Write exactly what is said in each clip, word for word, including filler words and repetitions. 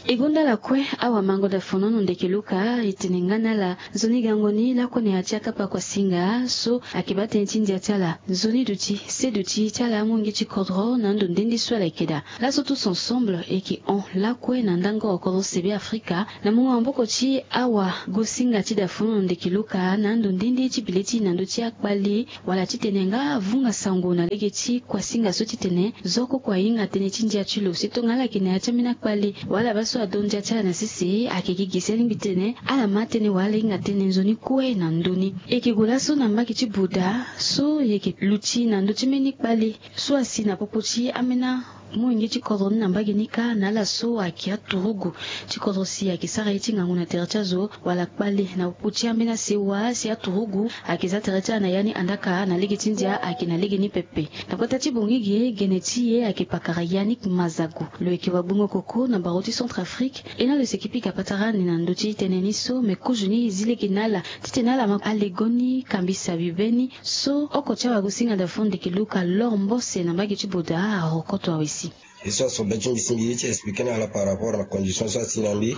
E gonda ala kue, awamango dafonono ndeke luka e tene nga na ala, nzoni gango ni lakue na ya ti akapa kuasinga so ayeke baa tënë ti ndia ti ala. Nzoni duti, se duti ti ala amolenge ti kodro na ando nde nde so ala yeke daa. Laso tous ensemble e yeke hon lakue na ndango kodro sebe Afrika na mungo maboko ti awagosinga ti dafonono ndeke luka na ando nde nde ti bileti na ndö ti akpali, wala titene nga avunga sango na lege ti kuasinga so titene zo koko ahinga tënë ti ndia ti lo. Si tongana ala yeke na ya ti ambeni akpali wala baa so ado ndia ti ala na sese, ayeke gi gi si alingbi tene ala ma tënë wala ala hinga tënë nzoni kue na ndö ni. E yeke gue laso na mbage ti Buda so e yeke luti na ndö ti mbeni kpali so asi na popo ti ambeni amolenge ti kodro ni na mbage ni kâ na ala so ayeke aturugu ti kodro si ayeke sara ye ti ngangu na tere ti azo, wala kpale na popo ti ambeni asewa si aturugu ayeke za tere ti ala na ya ni andaka na lege ti ndia ayeke na lege ni pepe. Na kota ti bongi ge, gene ti e ayeke pakara Yannick Mazago, lo yeke wagbongo koko na baro ti Centrafrique. E na lo si e yeke pika patara ni na ndö ti tënë ni so, me kozo ni e zi lege na ala titene ala ma alego ni kambisa bibe ni. So oko ti awagosinga dafonono ndeke luka Laure Mbose na mbage ti Buda arokoto awe si. Ye so aso be ti mbi si mbi ye ti expliquer na ala par rapport na condition so asi na mbi.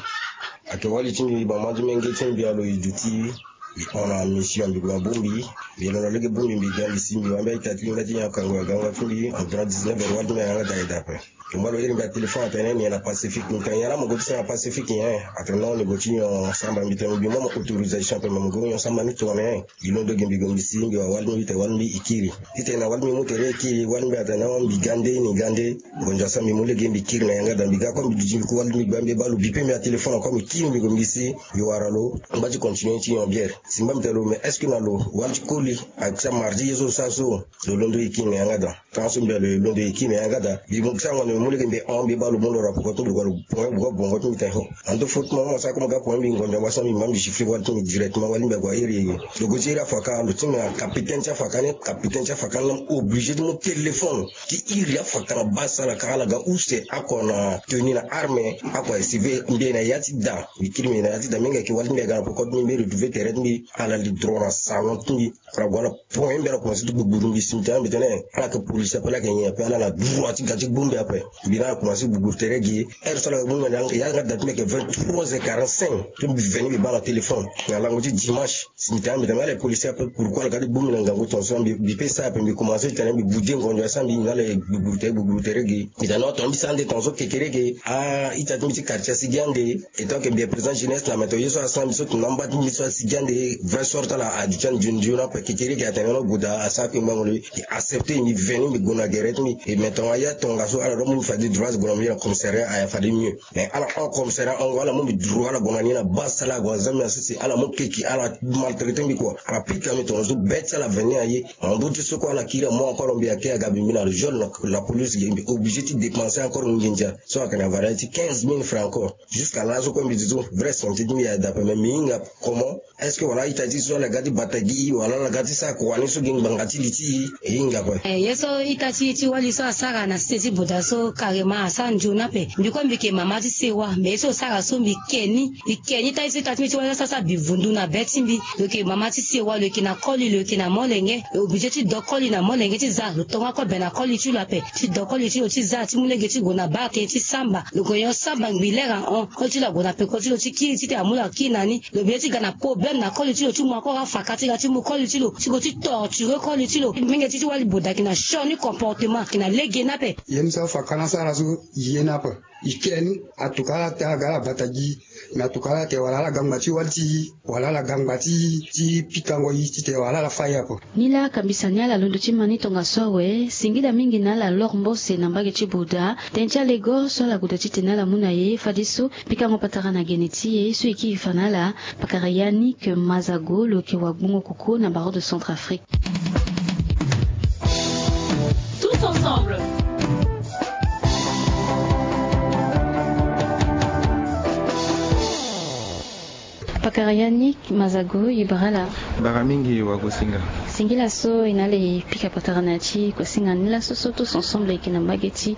Ayeke wali ti mbi, mama ti menge ti mbi alo e duti. Mbi hon na mission, mbi gue na bongbi. Mbi londo lege bongbi, mbi ga mbi si mbi wara mbeni ita ti mbi nga ti nyon akango ya gango ti mbi environ dix-neuf heures, wali ti mbi ayanga daa e daa ape. Mbi mu alo iri mbi na téléphone atene ni nyen na Pacifique. Mbi tene nyen la mo gue ti sara na Pacifique nyen? Atene non, ni gue ti nyon samba. Mbi tene mbi mu mo autorisation ape, me mo gue nyon samba ni tongana nyen? Mbi londo gi mbi gue mbi si mbi wara wali ti mbi, tene wali ti mbi e kiri. Titene na wali ti mbi mu tere e kiri, wali ti mbi atene non, mbi ga nde, ni ga nde. Ngonzo asara mbi mu lege mbi kiri na yanga daa. Mbi ga kue mbi duti mbi ku wali ti mbi, gba mbi baa lo bipe mbi na téléphone kue, mbi kiri mbi gue mbi si mbi wara lo. Ngba ti continuer ti nyon bière. Si ngba mbi tene lo, mais est-ce que na lo wali ti koli? Ayeke sara mardi ye so sara so. Lo londo e kiri na yanga daa. Tanga so mbi alo e londo e kiri na yanga daa. Mbi mu sara ngonzo mbi mu lege mbi hon, mbi baa lo mu lo rapoko ti mbi, lo gue lo pongo bongo ti mbi tene ho. Ando faute mo, mo sara kue mo ga pongo mbi, ngonzo mo sara mbi ma mbi siffler wali ti mbi directement, wali mbi ague a iri. Lo gue ti iri afaka, lo ti mbi na capitaine ti afaka ni, capitaine ti afaka ni laa obligé ti mu téléphone ti iri afaka na baa sala ka ala ga use oko na tenue na arme, oko aye surveiller mbi na ya ti daa. Mbi kiri mbi na ya ti daa, mbi nga yeke wali ti mbi aga na poko ti mbi, mbi retrouver tere ti mbi, ala li droit na salon ti mbi. Ala gue ala pongo mbi, ala commencé ti gbugburu mbi si mbi tene mbi tene ala yeke policier ape, ala yeke nyen ape, ala na droit ti ga ti gbu mbi ape. Mbi na ala commencé gbugburu tere gi. Heure so ala ga gbu mbi na yanga daa ti mbi ayeke vingt-trois heures quarante-cinq. Ti mbi veni mbi baa na téléphone na lango ti dimanche. Si mbi tene mbi tene ala yeke policier ape, pourquoi ala ga ti gbu mbi na ngangu tongaso? Mbi mbi pe sara ape, mbi commencé ti tene mbi bouder ngonzo asara mbi na ala gbugburu tere, gbugburu tere gi. Mbi tene non, tongana mbi sara ande tongaso kekereke, a-ita ti mbi ti quartier asi gi ande. Étant que mbi est président jeunesse na meto ye so asara mbi so tongana mba ti mbi so asi gi ande, vrai sort ti ala aduti ande nzoni nzoni ape. Kekereke atene no, goda asara kue ngbango lo. E accepter, mbi veni mbi gue na gere ti mbi. E me tongana ya tongaso ala doit mu mbi fade droit, gue na mbi na commissariat, aya fade mieux. Mais ala hon commissariat, hongo ala mu mbi droit, ala gue na ni na baa sala, ague aza mbi na sese, ala mu keke, ala maltraiter mbi quoi. Ala pika mbi tongaso, be ti ala veni aye. Mbu ti so kue ala kiri amu encore mbi ake aga mbi mbi na le jaune, la police ge, mbi obligé ti dépenser encore nginza. So ayeke na valeur ti quinze mille francs encore. Jusqu'à laso kue mbi duti so, vrai santé ti mbi ayeke daa ape, mais mbi hinga comment? Est-ce que wala a-ita ti so ala ga ti bata gi, wala ala ga ti sara kua ni so gi ngbanga ti li ti e? E hinga ape. Eh, ye so ita ti e ti wali so asara na sese ti Buda so, carrément asara nzoni ape. Mbi kue mbi yeke mama ti sewa, mais ye so lo sara so mbi ke ni. Mbi ke ni, ita ti so ita ti mbi ti wali so asara bivundu na be ti mbi. Lo yeke mama ti sewa, lo yeke na koli, lo yeke na molenge. Lo obligé ti do koli na molenge ti za, lo tonga kue be na koli ti lo ape. Ti do koli ti lo ti za, ti mu lege ti gue na baa tënë ti samba. Lo gue nyon samba ngbi lere ahon. Koli ti lo ague na peko ti lo ti kiri, titene amu lo akiri na ni. Lo be ti ga na problème na koli ti lo ti mu akora faka ti ga ti mu koli ti lo, ti gue ti torture koli ti lo. Mingi ti ti wali Buda ayeke na sioni comportement, ayeke na lege ni ape. Ye ni so afaka ni asara so, ye ni ape. E ke ni, atuka ala tene ala ga ala bata gi. Me atuka ala tene wala ala ga ngba ti wali ti e, wala ala ga ngba ti e ti pikango e titene wala ala fâ e ape. Ni laa kambisa ni ala londo ti ma ni tongaso awe. Singila mingi na ala Laure Mbose na mbage ti Buda. Tënë ti alego so ala goda titene ala mu na e, fadeso pikango patara na gene ti e so e kiri fa na ala. Pakara Yannick Mazago, lo yeke wagbongo koko na barreau de Centrafrique. Tous ensemble. Pakara Yannick Mazago, e bara ala. Bara mingi wagosinga. Singila so e na ala e pika patara na ya ti kosinga ni laso so tous ensemble e yeke na mbage ti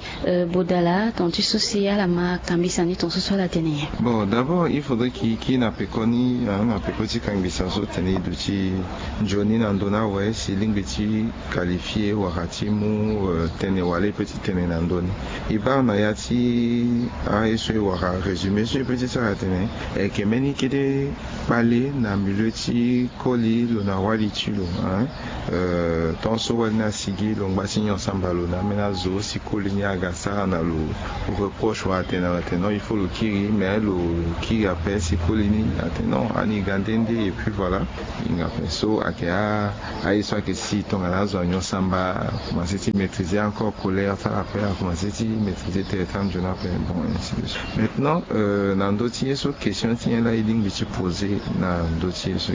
bodala tonga ti so si ala ma kambisa ni tonga so so ala tene nyen? Bon, d'abord il faudrait que e kiri na pekoni na peko ti kangisa so tene e duti nzoni na ndö ni awe si e lingbi ti qualifier wala ti mu tene wala e pe ti tene na ndö ni. E baa na ya ti aye so e wara résumé so e pe ti sara tene e yeke mbeni kete kpale na milieu ti koli lo na wali ti lo, hein. Tongaso wali ni asigi lo ngba ti nyon samba lo na ambeni azo si koli ni aga sara na lo reproche wala atene na lo atene non il faut lo kiri mais lo kiri ape si koli ni atene non ani ga nde nde et puis voilà. Hinga ape so ayeke a aye so ayeke si tongana azo anyon samba akomanse ti maîtriser encore colère ti ala ape akomanse ti maîtriser tere ti anzoni ape. Bon, ainsi de suite. Maintenant na ndö ti ye so question ti nyen laa e lingbi ti poser na ndö ti ye so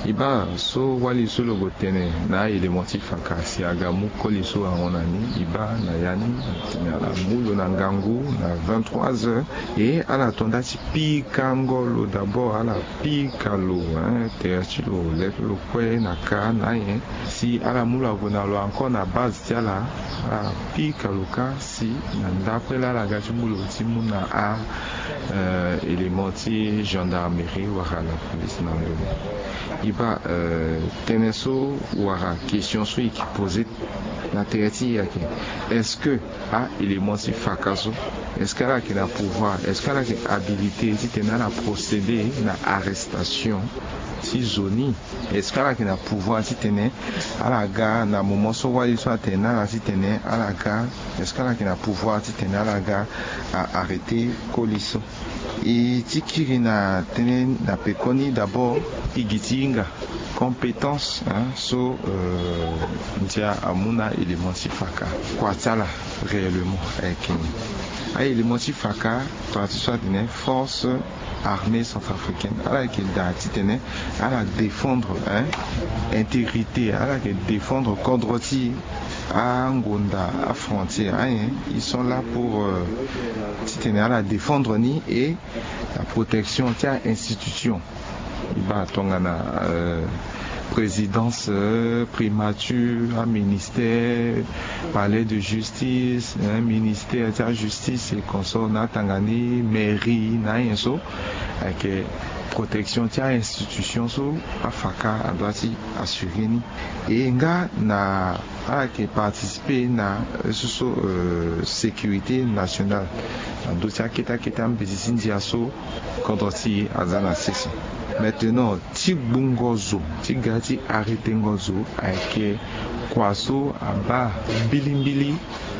e baa so wali so lo gue tene na a-élément ti faka si aga mu koli so ahon na ni e baa na ya ni atene ala mu lo na ngangu na vingt-trois heures. E ala to nda ti pikango lo d'abord ala pika lo, hein, tere ti lo leke lo kue na ka na ayen si ala mu lo ague na lo encore na base ti ala ala pika lo kâ si na ndapre laa ala ga ti mu lo ti mu na a élément ti gendarmerie wala na police na ndö ni. E baa tënë so wala question so e ke poser na tere ti e ayeke est-ce que a-élément ti faka so est-ce que ala yeke na pouvoir, est-ce que ala yeke habilité titene ala procéder na arrestation ti zo ni? Est-ce que ala yeke na pouvoir titene ala ga na moment so wali so atene na ala titene ala ga? Est-ce que ala yeke na pouvoir titene ala ga a arrêter koli so? E ti kiri na tënë na pekoni d'abord e gi ti hinga compétence, hein, so ndia amu na a-élément ti faka kua ti ala réellement ayeke nyen? A-élément ti faka tongana ti so atene force armée centrafricaine ala yeke daa titene ala défendre, hein, intégrité, ala yeke défendre kodro ti angonda afrontière ayen. Ils sont là pour titene ala défendre ni et la protection ti a-institution. E baa tongana présidence, primature, aministère, palais de justice, ministère ti ajustice et consort na atanga ni mairie na ayen so ayeke protection ti a-institution so afaka adoit ti assurer ni. E nga na ala yeke participer na so so sécurité nationale na ndö ti akete akete ambeti ti ndia so kodro ti e aza na sese. Maintenant ti gbungo zo ti ga ti arrêtengo zo ayeke kua so abaa mbilimbili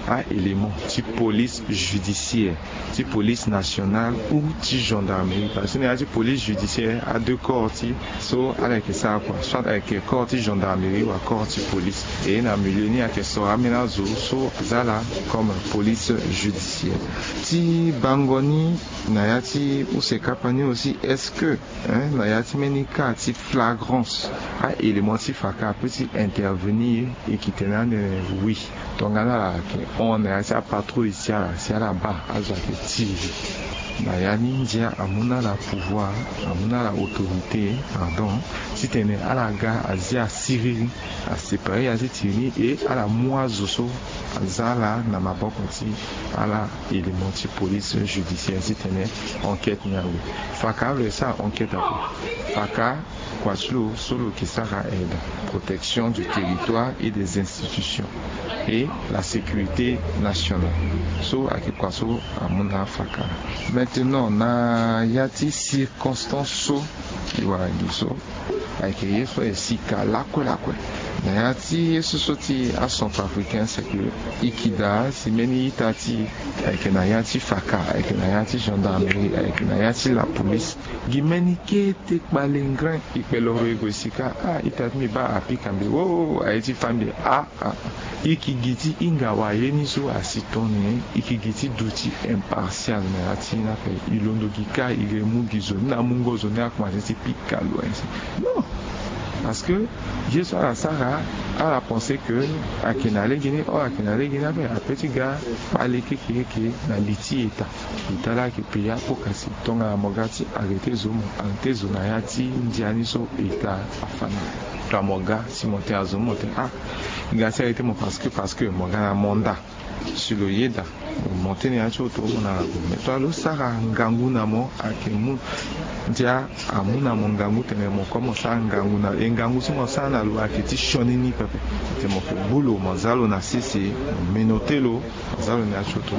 a-élément ti police judiciaire, ti police nationale ou ti gendarmerie parce que na ya ti police judiciaire a deux corps ti so ala yeke sara kua soit ayeke corps ti gendarmerie wala corps ti police. E na milieu ni ayeke soro ambeni azo so aza ala comme police judiciaire. Ti bango ni na ya ti use kapa ni aussi est-ce que na ya ti mbeni cas ti flagrance a-élément ti faka apeut ti intervenir? E yeke tene ande oui. Tongana ala yeke hon na ya ti apatrouille ti ala si ala baa azo ayeke tiri na ya ni ndia amu na ala pouvoir amu na ala autorité pardon titene ala ga azia siriri aséparer ya ti tiri ni e ala mu azo so aza ala na maboko ti ala élément ti police judiciaire titene enquête ni awe. Faka lo e sara enquête ape. Faka kua ti lo so lo yeke sara aide protection du territoire et des institutions et la sécurité nationale. So ayeke kua so amu na afaka. Maintenant na ya ti circonstance so e wara gi so ayeke ye so e sika lakue lakue na ya ti ye so so ti acentrafricain c'est que e yeke daa si mbeni ita ti e ayeke na ya ti faka ayeke na ya ti gendarmerie ayeke na ya ti la police. Gi mbeni kete kpale ngrin e kpe loro e gue sika ah ita ti mbi baa apika mbi woo aye ti fa mbi ah ah. E yeke gi ti hinga waye ni so asi tongana nyen? E yeke gi ti duti impartial na ya ti ni ape. E londo gi kâ e re mu gi zo ni na mungo zo ni akomanse ti pika lo ainsi. Non. Parce que ye so ala sara Ala pense ke ayeke na lege ni, or ayeke na lege ni ape. Ape ti ga kpale kekereke na li ti eta. Lo tala ayeke pays apoko asi tongana mo ga ti arrêter zo, mo arrêter zo na ya ti ndia ni so eta afa na. Tongana mo ga si mo tene azo mo tene ah, e ga ti arrêter mo parce que parce que mo ga na mandat. Si lo yeda mo tene ya ti oto mo na ago mais tongana lo sara ngangu na mo ayeke mu ndia amu na mo ngangu tene mo kue mo sara ngangu na lo e ngangu so mo sara na lo ayeke ti sioni ni pepe. Tene mo ke gbu lo mo za lo na sese mo menote lo mo za lo na ya ti oto.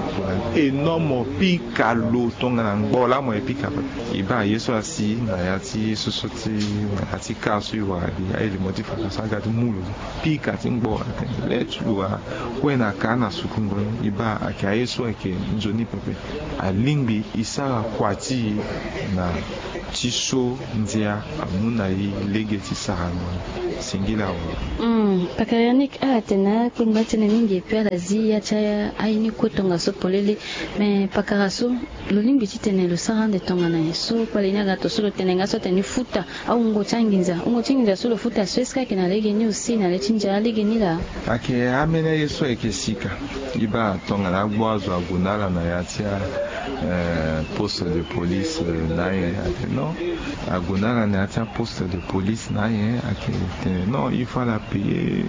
Énorme pika lo tongana ngbo laa mo ye pika pepe. E baa ye so asi na ya ti ye so so ti na ya ti kar so e wara gi aye limo ti faka so aga ti mu lo. Pika ti ngbo atene le ti lo akue na ka na sukungo ni e baa ayeke aye so ayeke nzoni pepe. Alingbi e sara kua ti e na ti so ndia amu na e lege ti sarango ni. Singila awe. Pakara yannick ala tene akpengba tënë mingi epui ala zi ya ti aye ni kue tongaso polele. Me pakara so lo lingbi titene lo sara ande tongana nyen so kpale ni aga to so lo tene nga so atene ni futa awungo ti anginza wungo ti nginza so lo futa so est-ce que ayeke na lege ni aussi na le ti ndia lege ni laa? Ayeke ameni aye so ayeke sika. E baa tongana agbu azo ague na ala na ya ti a poste de police na ayen ayeke non. Ague na ala na ya ti aposte de police na ayen ayeke tene non il faut ala payer.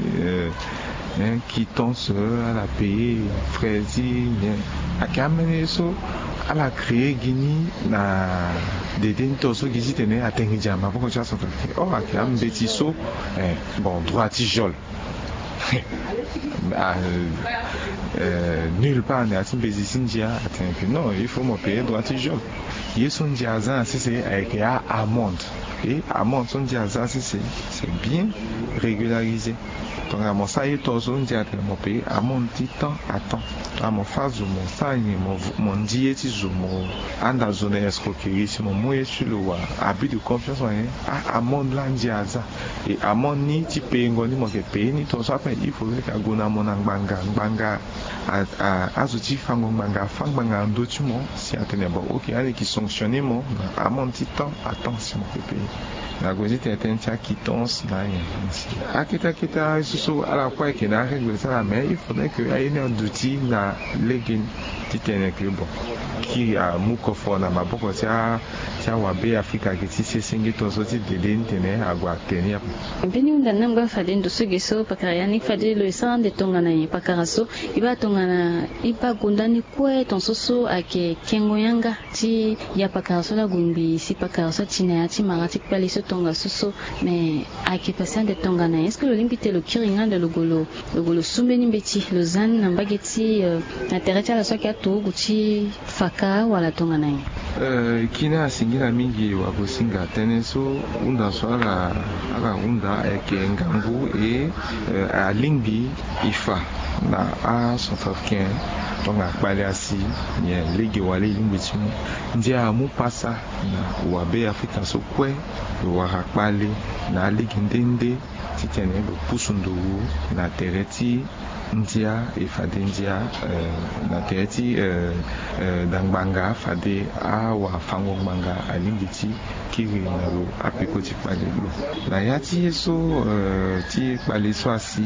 Quittance ala payer frais ti nyen. Ayeke ameni ye so ala créer gi ni na dede ni to so gi titene atene gi dia maboko ti acentrafricain or ayeke ambeti so. Bon droit ti geole. Nulle part na ya ti mbezi ti ndia atene ke non il faut mo payer droit ti geole. Ye so ndia aza na sese ayeke a amende. E amende so ndia aza sese c'est bien régularisé. Tongana mo sara ye to so ndia atene mo payer amende ti temps à temps. Tongana mo fâ zo mo sara nyen mo ndi ye ti zo mo anda zo na escroquerie si mo mu ye ti lo wala abus de confiance wala nyen. A amende laa ndia aza. E amende ni ti payengo ni mo yeke payer ni tongaso ape il faudrait ke ague na mo na ngbanga ngbanga. Azo ti fango ngbanga afâ ngbanga na ndö ti mo si atene bon ok ande e ke sanctionner mo na amende ti temps à temps si mo yeke payer. Na gue ti tene tënë ti aquittance na ayen. Akete akete aye so so ala kue ayeke na arègle ti ala mais il faudrait ke aye ni aduti na lege ni. Titene ke bon kiri amu koforo na maboko ti a ti awabe afrika ayeke ti sesenge tongaso ti dede ni tene ague atene ni ape. Mbeni hunda ni angba fade ndo so ge so pakara ya ni fade lo e sara ande tongana nyen pakara so? E baa tongana e baa gonda ni kue tongaso so ayeke kengo yanga ti ya pakara so laa gue ngbii si pakara so ati na ya ti mara ti kpale so tongaso so. Me ayeke pase ande tongana nyen est-ce que lo lingbi te lo kiri nga ande lo gue lo lo gue lo su mbeni mbeti lo za ni na mbage ti na tere ti ala so ayeke aturugu ti faka wala tongana nyen? Kina asingila mingi wagosinga tënë so hunda so ala ala hunda ayeke ngangu e alingbi e fa na acentrafricain. Tongana kpale asi nyen lege wala e lingbi ti mu. Ndia amu pasa na wabe afrika so kue lo wara kpale na alege nde nde titene lo pusu nduru na tere ti ndia e fade ndia na tere ti da ngbanga fade awafango ngbanga alingbi ti kiri na lo apeko ti kpale lo. Na ya ti ye so ti kpale so asi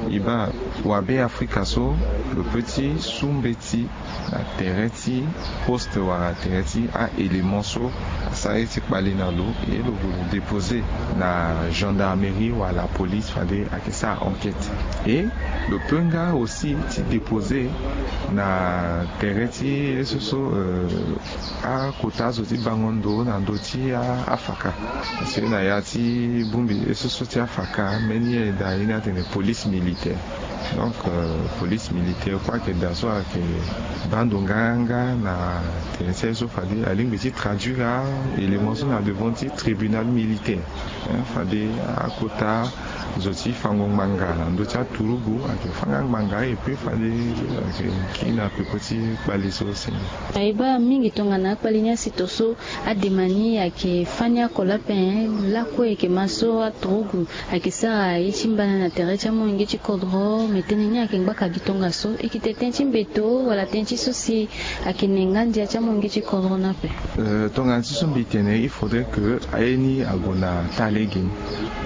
e baa wabe afrika so lo pe ti su mbeti na tere ti poste wala tere ti a-élément so asara ye ti kpale na lo e lo gue lo dépose na gendarmerie wala police fade ayeke sara enquête. E lo pe nga aussi ti dépose na tere ti ye so so akota azo ti bango ndo na ndö ti afaka. Parce que na ya ti bongbi ye so so ti afaka mbeni ye daa ye ni atene police militaire. Donc police militaire kue ayeke daa so ayeke baa ndo nganganga na tene ti aye so fade alingbi ti traduire a-élément so na devant ti tribunal militaire. Fade akota zo ti fango ngbanga na ndö ti aturugu ayeke fâ nga ngbanga epui fade ayeke kiri na peko ti kpale so si. Ayeke baa mingi tongana akpale ni asi to so adema ni ayeke fâ ni oko lape. Lakue ayeke ma so aturugu ayeke sara ye ti mbana na tere ti amolenge ti kodro me tënë ni ayeke ngbaka gi tongaso e yeke tene tënë ti mbeto wala tënë ti so si ayeke ne nga ndia ti amolenge ti kodro ni ape. Tongana ti so mbi tene il faudrait ke aye ni ague na taa lege ni.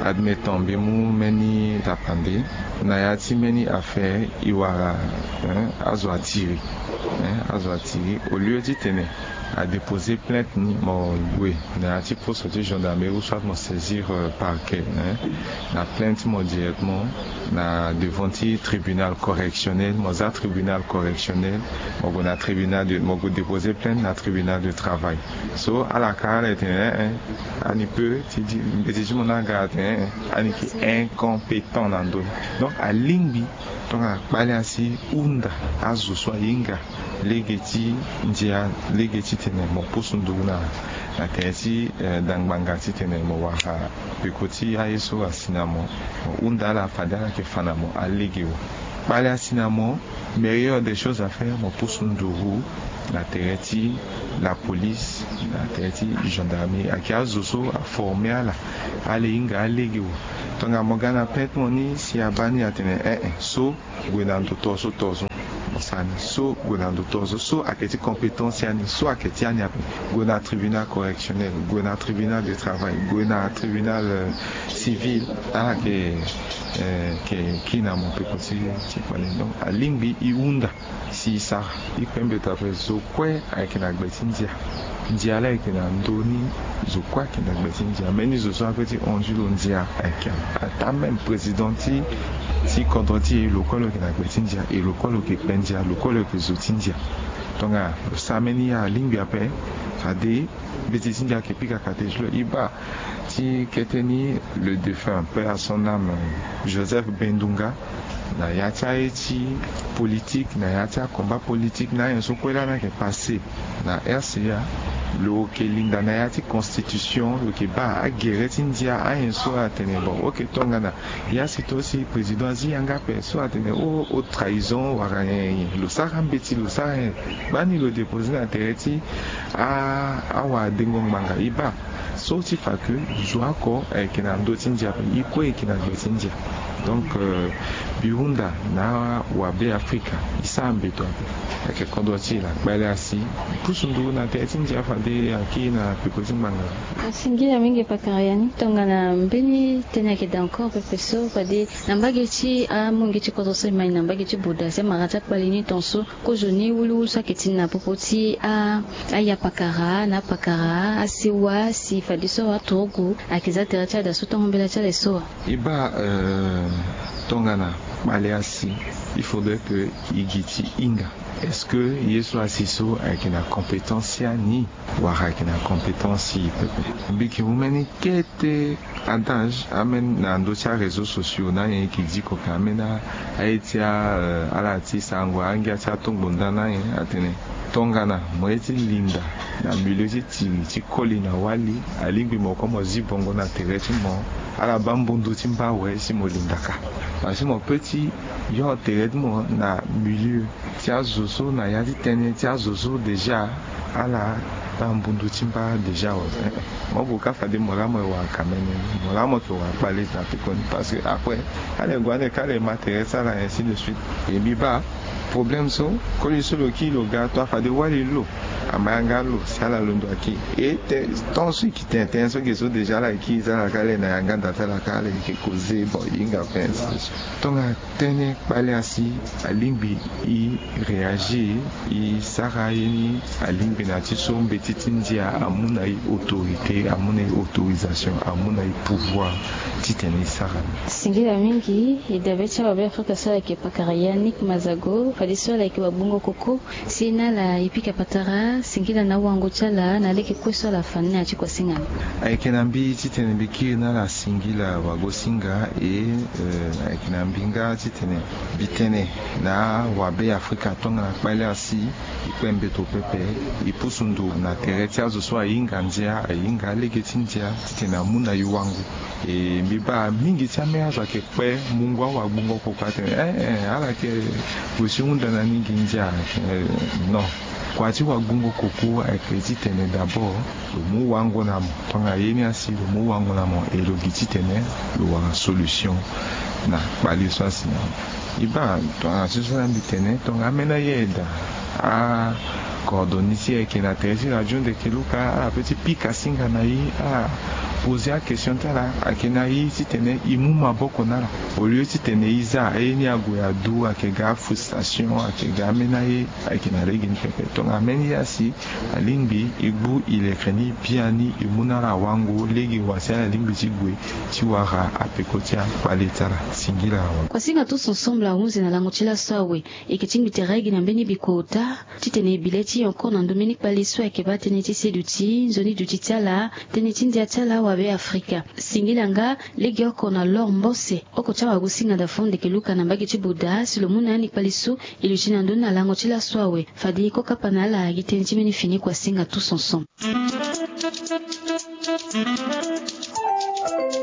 Admettant mbi mu mbeni tapande na ya ti mbeni affaire, e wara azo atiri, azo atiri au lieu titene adéposer plainte ni, mo gue na ya ti poste ti gendarmerie ou soit mo saisir parquet na plainte ti mo directement na devant ti tribunal correctionnel. Mo za tribunal correctionnel, mo gue na tribunal de mo gue déposer plainte na tribunal de travail. So ala ka ala etene eh eh ani pe ti di mbeti ti mo ni aga atene eh eh ani yeke incompétent na ndö ni. Donc alingbi tongana kpale asi hunda azo so ahinga lege ti ndia lege titene mo pusu nduru na na tere ti dangbanga titene mo wara peko ti aye so asi na mo. Mo hunda ala fade ala yeke fa na mo alege wa. Kpale asi na mo meilleure des choses à faire mo pusu nduru na tere ti la police na tere ti gendarmerie ayeke azo so aforme ala. Ala hinga alege wa. Tongana mo ga na plainte mo ni si abaa ni atene eh eh so gue na ndo to so to so mo sara ni so gue na ndo to so so ayeke ti compétence ti ani so ayeke ti ani ape. Gue na tribunal correctionnel, gue na tribunal de travail, gue na tribunal civil. Ala yeke yeke kiri na mo peko ti ti kpale ni. Donc alingbi e hunda si e sara e kpe mbeto ape zo kue ayeke na gbe ti ndia. Ndia laa ayeke na ndö ni. Zo kue ayeke na gbe ti ndia mbeni zo so ape ti hon ti lo ndia ayeke ape. Ata même président ti ti kodro ti e lo kue lo yeke na gbe ti ndia e lo kue lo yeke kpe ndia lo kue lo yeke zo ti ndia. Tongana lo sara mbeni ya alingbi ape. Fade mbeti ti ndia ayeke pika kate ti lo e baa ti kete ni le défunt paix à son âme Joseph Bendunga. Na ya ti aye ti politique na ya ti akomba politique na anyen so kue lani ayeke passe na rca. Lo yeke linda na ya ti constitution lo yeke baa agere ti ndia anyen so atene bon oke tongana ya si to si président azi yanga ape so atene o o trahison wala nyen nyen lo sara mbeti lo sara nyen. Gbani lo dépose na tere ti awadengo ngbanga e baa so ti fa ke zo oko ayeke na ndö ti ndia ape e kue ayeke na gbe ti ndia. Donc mbi hunda na awabe afrika e sara mbeto ape. Ayeke kodro ti e laa kpale asi e pusu nduru na tere ti ndia fade akiri na peko ti ngbanga. Asingila mingi pakara ya ni tongana mbeni tënë ayeke daa encore pepe so fade na mbage ti amungi ti kodro so e mai na mbage ti boda si amara ti akpale ni tonso. Kozo ni wuluwulu so ayeke ti na popo ti ayapakara na apakara asewa si fadeso aturugu ayeke za tere ti ada so tongo mbela ti ala e so wa. E baa tongana kpale asi il faudrait ke e gi ti hinga est-ce que ye so asi so ayeke na compétence ti ani wala ayeke na compétence ti e pepe. Mbi yeke mu mbeni kete adage ambeni na ndö ti aréseau sociaux na anyen e yeke diko ka ambeni aye ti ala ti sarango angia ti atongbo nda na anyen atene tongana mo ye ti linda na milieu ti tiri ti koli na wali alingbi mo kue mo zi bongo na tere ti mo. Ala baa mbundu ti mba awe si mo linda kâ. Parce que mo pe ti yo tere ti mo na milieu ti azo so na ya ti tënë ti azo so déjà ala baa mbundu ti mba déjà awe. Mo gue kâ fade mo laa mo ye wara kamene ni mo laa mo yeke wara kpale na pekoni parce que après ala ye gue ande kâ ala ye ma tere ti ala ainsi de suite. E mbi baa problème so koli so lo kiri lo ga to afade wali lo ama yanga lo si ala londo akiri e te temps so e yeke tene tënë so ge so déjà ala ye kiri ti ala kâ ala ye na yanga da ti ala kâ ala ye yeke koze bon e hinga pe ainsi de suite. Tongana tënë kpale asi alingbi e réagir e sara ye ni alingbi na ti so mbeti ti ndia amu na e autorité amu na e autorisation amu na e pouvoir titene e sara ni. Singila mingi e dabe ti awabe afrika so ala yeke pakara yannick mazago fadeso ala yeke wagbongo koko si na ala e pika patara singila na awango ti ala na lege kue so ala fa ni na ya ti kua singa ni. Ayeke na mbi titene mbi kiri na ala singila wagosinga e ayeke na mbi nga titene mbi tene na awabe afrika tongana kpale asi e kpe mbeto pepe e pusu nduru na tere ti azo so ahinga ndia ahinga alege ti ndia titene amu na e wango. E mbi baa mingi ti ambeni azo ayeke kpe mungo awagbongo koko atene eh eh ala yeke gue si hunda na ni gi ndia. Non. Kua ti wagbongo koko ayeke titene d'abord lo mu wango na mo tongana ye ni asi lo mu wango na mo e lo gi titene lo wara solution na kpale so asi na mo. E baa tongana so so na mbi tene tongana ambeni aye aye daa acoordonné ti e ayeke na tere ti radio ndeke luka ala pe ti pika singa na e ala Poser akestion ti ala ayeke na ye titene e mu maboko na ala, au lieu titene e za aye ni ague adu ayeke ga afrustration, ayeke ga ameni aye ayeke na lege ni pepe. Tongana ameni ye asi, alingbi e gbu ileke ni biani e mu na ala wango lege wa si ala lingbi ti gue ti wara apeko ti akpale ti ala. Singila awe. Kuasinga tous ensemble ahunzi na lango ti laso awe. E yeke tingbi tere gi na mbeni bikota titene e bi le ti e encore na ndo mbeni kpale so ayeke baa tënë ti seduti, nzoni duti ti ala, tënë ti ndia ti ala wabe afrika. Singila nga lege oko na l'or mbose oko ti awagosinga da fond eke luka na mbage ti buda si lo mu na ya ni kpale so. E luti na ndö ni na lango ti laso awe. Fade e kokapa na ala gi tënë ti mbeni fini kuasinga tous ensemble.